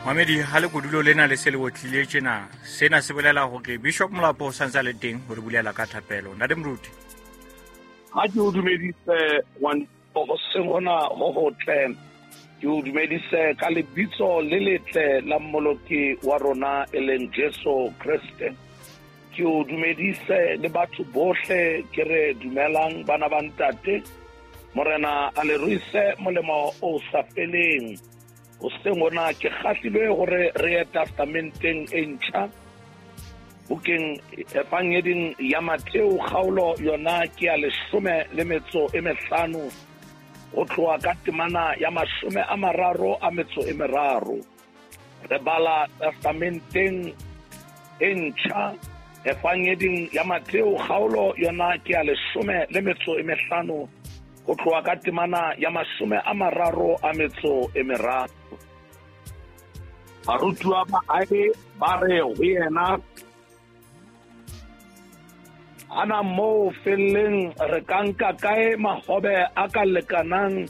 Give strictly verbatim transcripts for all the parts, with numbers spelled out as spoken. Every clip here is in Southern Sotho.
Mamedi ha le kodulo lena le se le otlile tjena, sena se bolela hore Bishop Molapo o santse a le teng ho re bulela ka thapelo. Ntate Moruti. Ha ke o dumedise ngwane hoseng hona ho hotle, ke o dumedise ka lebitso le letle la Mmoloki wa rona e leng Jesu Kreste. Ke o dumedise le batho bohle ke re dumelang bana ba ntate. Morena a le ruise molemo o sa feleng. Hoseng hona ke kgahlilwe hore re ye testamenteng e ntjha, bukeng Evangeding ya Mateo kgaolo yona ke ya leshome le metso e mehlano, ho tloha ka temana ya mashome a mararo a metso e meraro. Re bala testamenteng e ntjha Evangeding ya Mateo kgaolo yona ke ya leshome le metso e mehlano, ho tloha ka temana ya mashome a mararo a metso e meraro. Barutuwa ba hae ba re ho yena, ana moo felleng re ka nka kae mahobe a ka lekanang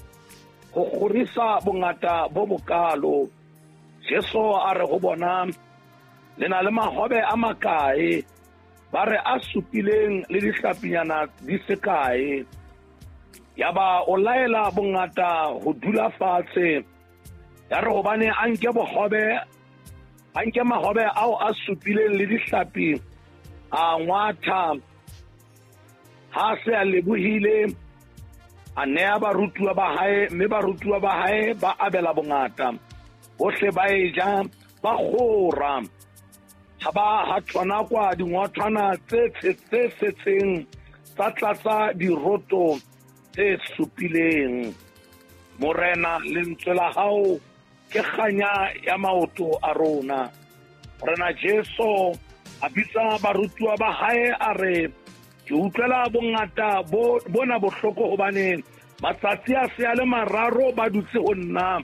ho kgorisa bongata bo bokalo? Jesu a re ho bona, le na le mahobe a makae? Ba re a supileng le dihlapinyana di se kae. Yaba o laela bongata ho dula fatshe. Ya re hobane a nke bohobe, a nke mahobe ao a supileng le dihlapi, a ngwatha. Ha se a lebohile, a neya barutuwa ba hae, mme barutuwa ba hae ba abela bongata. Bohle ba e ja, ba kgora. Ha ba ha thonakwa dingwathwana tse tse setseng tsa tlatsa diroto tse supileng. Morena, lentswe la hao ke kganya ya maoto a rona. Morena Jesu a bitsa barutuwa ba hae a re, ke utlwela bongata bo bona bohloko hobane matsatsi a se a le mararo ba dutse ho nna,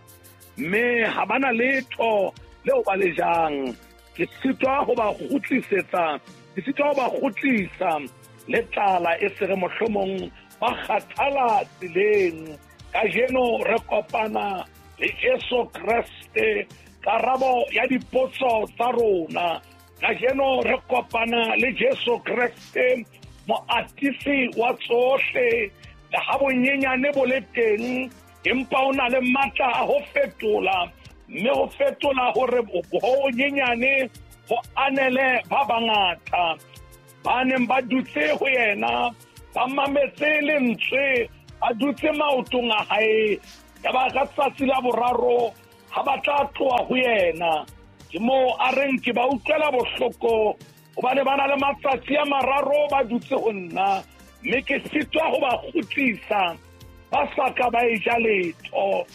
mme ha bana letho leo ba le jang. Ke sitwa ho ba kgutlisetsa, ke sitwa ho ba kgutlisa le tlala e se re mohlomong ba kgathala tseleng. Kajeno re kopana le Jesu Kreste, karabo ya dipotso tsa rona. Kajeno re kopana le Jesu Kreste, moatisi wa tsohle. Le ha bonyenyane bo le teng, empa o na le matla a ho fetola, mme ho fetola hore ho nyenyane ho anele ba bangata. Ba neng ba dutse ho yena, ba mametse lentswe, ba dutse maotong a hae. Yaba ka tsatsi la boraro ha ba tla tloha ho yena, ke moo a reng ke ba utlwela bohloko hobane ba na le matsatsi a mararo ba dutse ho nna, mme ke sitwa ho ba kgutlisa ba sa ka ba e ja letho.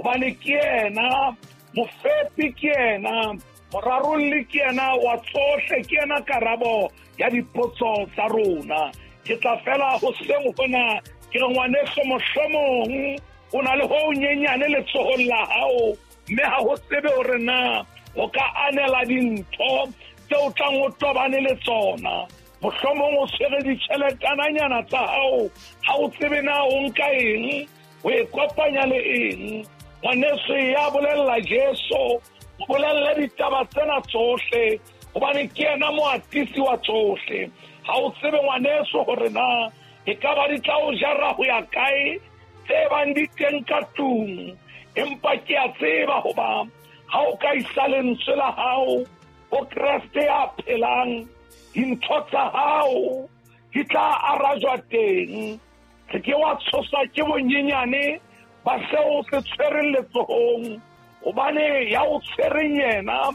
Hobane ke yena mofepi, ke yena morarolli, ke yena wa tsohle, ke yena karabo ya dipotso tsa rona. Ke tla fela hoseng hona ke re ngwaneso, mohlomong o na le ho nyenyane letsohong la hao, mme ha ho tsebe hore na o ka anela dintho tse o tlang o tobane le tsona. Mohlomong o tshwere ditjheletananyana tsa hao, ha o tsebe na o nka eng, o e kopanya le eng. Ngwaneso, ya bolella Jesu, o bolelle ditaba tsena tsohle, hobane ke yena moatisi wa tsohle. Ha o tsebe ngwaneso hore na e ka ba di tla o jara ho ya kae tse bang di teng ka tlung, empa ke a tseba hoba ha o ka isa lentswe la hao ho Kreste ya phelang, dintho tsa hao di tla arajwa teng. Se ke wa tshoswa ke bonyenyane ba seo se tshwereng letsohong, hobane ya o tshwereng yena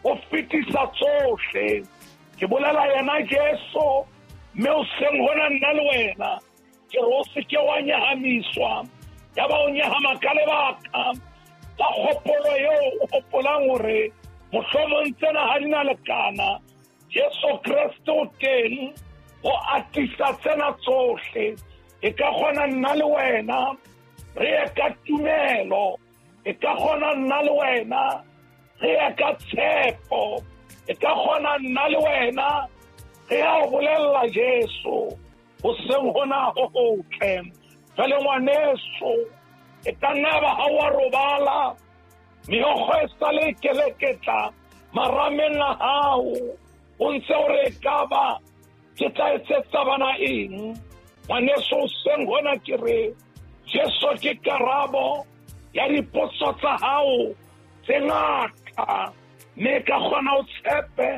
o fetisa tsohle. Ke bolela yena Jesu, mme o seng hona nna le wena, ke re o se ke wa nyahamiswa, ya ba o nyahama ka lebaka la kgopolo eo o hopolang hore mohlomong tsena ha di na lekana. Jesu Kreste o teng ho atisa tsena tsohle. E ka kgona nna le wena re ye ka tumelo, e ka kgona nna le wena re ye ka tshepo, e ka kgona nna le wena re ya ho bolella Jesu hoseng hona ho hotle. Jwale ngwaneso, e ka nna ba ha wa robala, Meokgo e sale e keleketla marameng a hao, o ntse o re ekaba ke tla etsetsa bana eng. Ngwaneso hoseng hona ke re Jesu ke karabo ya dipotso tsa hao tse ngata, mme e ka kgona o tshepe,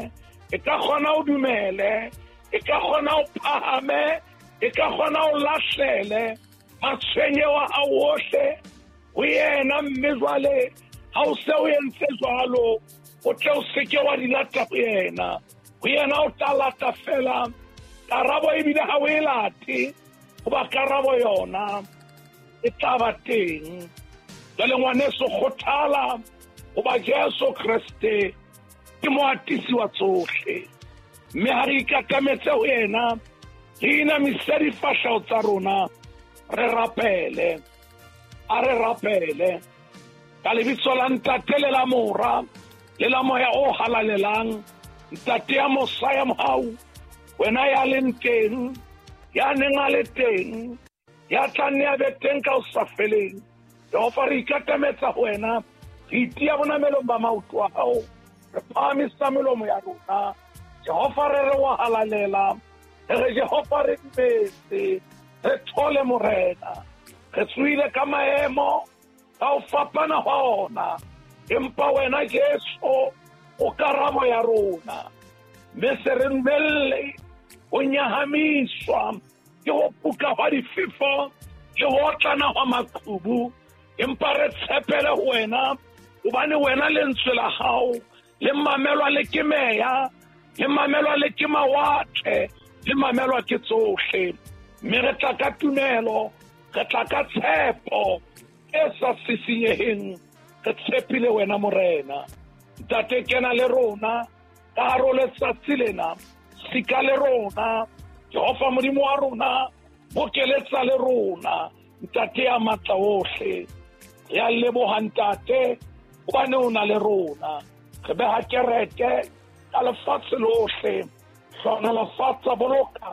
e ka kgona o dumele, e ka kgona o phahame, e ka kgona o lahlele matshwenyeho a hao ohle ho yena. Mme jwale ha o se o entse jwalo, o tle o seke wa di lata ho yena. Ho yena o tla lata fela karabo, ebile ha o e late, hoba karabo yona e tla ba teng. Jwale ngwaneso, kgothala, hoba Jesu Kreste ke moatisi wa tsohle. Mme ha re ikatametse ho yena, re inamise difahleho tsa rona, re rapele. A re rapele ka lebitso la Ntate le la Mora le la Moya o Halalelang. Ntate ya mosa ya mohau, wena ya leng teng, ya neng a le teng, ya tla nne a be teng ka ho sa feleng. Jehova, re ikatametsa ho wena, re itiya bonamelong ba maoto a hao, re phahamisa melomo ya rona. Jehova, re re wa halalela, re re Jehova re dumetse, re thole Morena. Re tsohile ka maemo ka ho fapana hwa ona, empa wena Jesu o karabo ya rona. Mme se re dumelle ho nyahamiswa ke ho puka hwa difefo le ho otlana hwa maqhubu, empa re tshepele ho wena, hobane wena lentswe la hao le mamelwa le ke meya, le mamelwa le ke mawatle, le mamelwa ke tsohle. Mme re tla ka tumelo, re tla ka tshepo e sa sisinyeheng, re tshepile wena Morena. Ntate, kena le rona ka hare ho letsatsi lena, sika le rona Jehova Modimo wa rona, bokeletsa le rona Ntate ya matla ohle. Re a leboha Ntate, hobane o na le rona. Re beha kereke ka lefatshe lohle, hlohonolofatsa, boloka,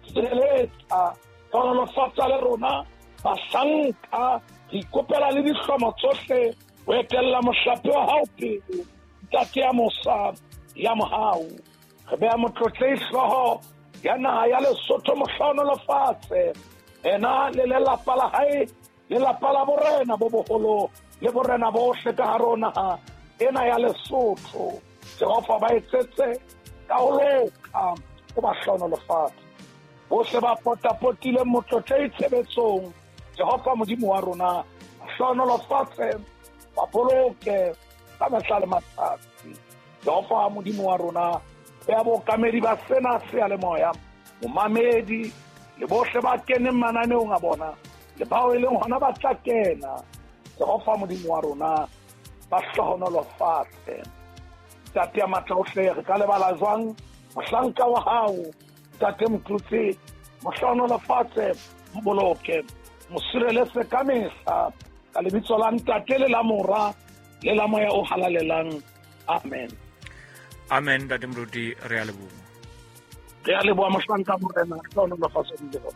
sireletsa, hlohonolofatsa le rona bahlanka. Re ikopela le dihlomo tsohle ho etella mohlape wa hao pele, Ntate ya mosa ya mohau. Re beha motlotlehi hlooho ya naha ya Lesotho, mohlohonolofatse ena le lelapa la hae, lelapa la borena bo boholo le borena bohle ka hare ho naha ena ya Lesotho. Jehova, ba etsetse ka ho loka, o ba hlohonolofatse. Bohle ba potapotileng motlotlehi tshebetsong, Jehova Modimo wa rona, hlohonolofatse, ba boloke ka mehla le matsatsi. Jehova Modimo wa rona, ya bookamedi ba sena seyalemoya, momamedi le bohle ba keneng mananeong a bona, le bao e leng hona ba tla kena, Jehova Modimo wa rona, ba hlohonolofatse. Ntate ya matla ohle, re ka lebala jwang mohlanka wa hao Ntate Motlotse? Mo hlohonolofatse, mo boloke, mo sireletse ka mehla, ka lebitso la Ntate le la Mora le la Moya o Halalelang. Amen. Amen. Ntate Moruti, re a leboha. Re a leboha mohlanka Morena, hlohonolofatse Jehova.